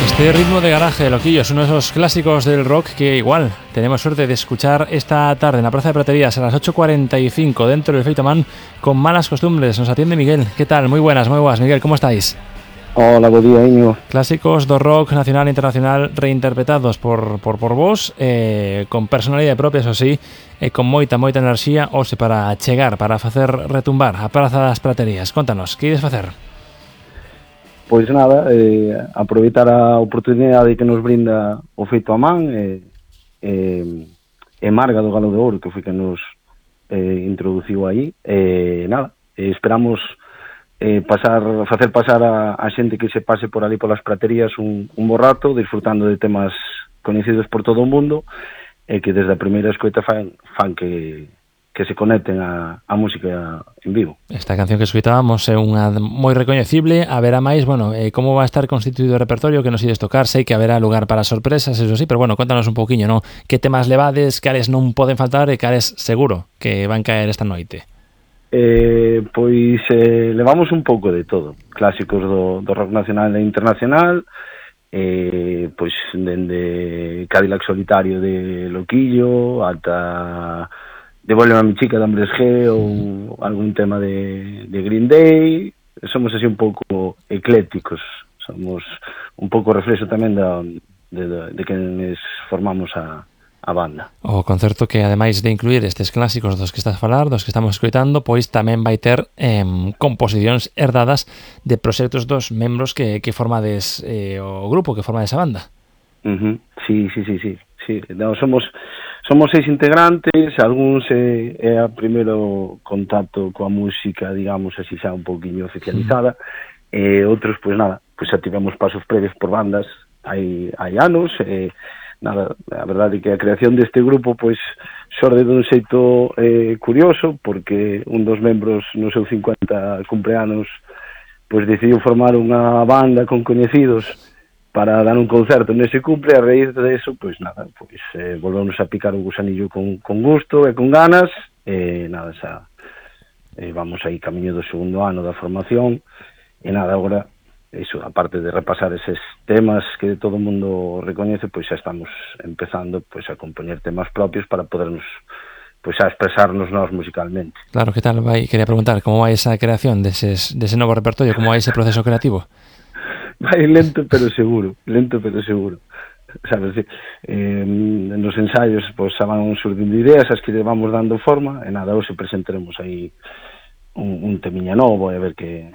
Este ritmo de garaje, Loquillo, es uno de esos clásicos del rock que igual tenemos suerte de escuchar esta tarde en la Plaza de Praterías a las 8:45 dentro del Feito Man con Malas Costumbres. Nos atiende Miguel. ¿Qué tal? Muy buenas, Miguel, ¿cómo estáis? Hola, bo día, Íñigo. Clásicos do rock nacional e internacional reinterpretados por vos, con personalidade propia, eso sí, con moita enerxía, hoxe para chegar, para facer retumbar a Praza das Praterías. Contanos, que ides facer? Pois nada, aproveitar a oportunidade que nos brinda o Feito a Man e Marga do Galo de Ouro, que foi que nos introduciu aí. Nada, esperamos facer pasar a xente que se pase por ali polas praterías un bo rato, disfrutando de temas coñecidos por todo o mundo e que desde a primeira escoita fan que se conecten a música en vivo. Esta canción que escoitábamos é unha moi recoñecible. Haberá máis, como va a estar constituído o repertorio que nos ides tocar? Sei que haberá lugar para sorpresas, eso sí, pero contanos un pouquiño, non? Que temas levades, cales non poden faltar e cales seguro que van caer esta noite? Levamos un pouco de todo, clásicos do rock nacional e internacional, pois dende Cadillac Solitario de Loquillo ata Devuélveme a mi chica de Hombres G ou algún tema de Green Day. Somos así un pouco eclécticos, somos un pouco reflexo tamén de quenes formamos a banda. O concerto que, ademais de incluir estes clásicos dos que estás a falar, dos que estamos escoitando, pois tamén vai ter composicións herdadas de proxectos dos membros que formades o grupo, que formades a banda. Sí. No, somos 6 integrantes, algúns é a primeiro contacto coa música, digamos así, xa un pouquiño oficializada, e outros, pois nada, pois xa tivemos pasos previos por bandas hai anos, nada, a verdade é que a creación deste grupo pois xorde dun xeito curioso, porque un dos membros no seu 50 cumpleanos pois decidiu formar unha banda con coñecidos para dar un concerto nese cumple. A raíz de eso, pois nada, volvemos a picar o gusanillo con gusto e con ganas, e nada, xa vamos aí camiño do segundo ano da formación, e nada, agora iso, aparte de repasar eses temas que todo o mundo recoñece, pois xa estamos empezando pois a compoñer temas propios para podernos pois a expresarnos nós musicalmente. Claro, que tal vai? Quería preguntar, como vai esa creación dese novo repertorio, como vai ese proceso creativo? Vai lento pero seguro, sabes, nos ensaios pois xa van surdindo ideas, as que vamos dando forma, e nada, hoxe presentaremos aí un temiña novo, e a ver que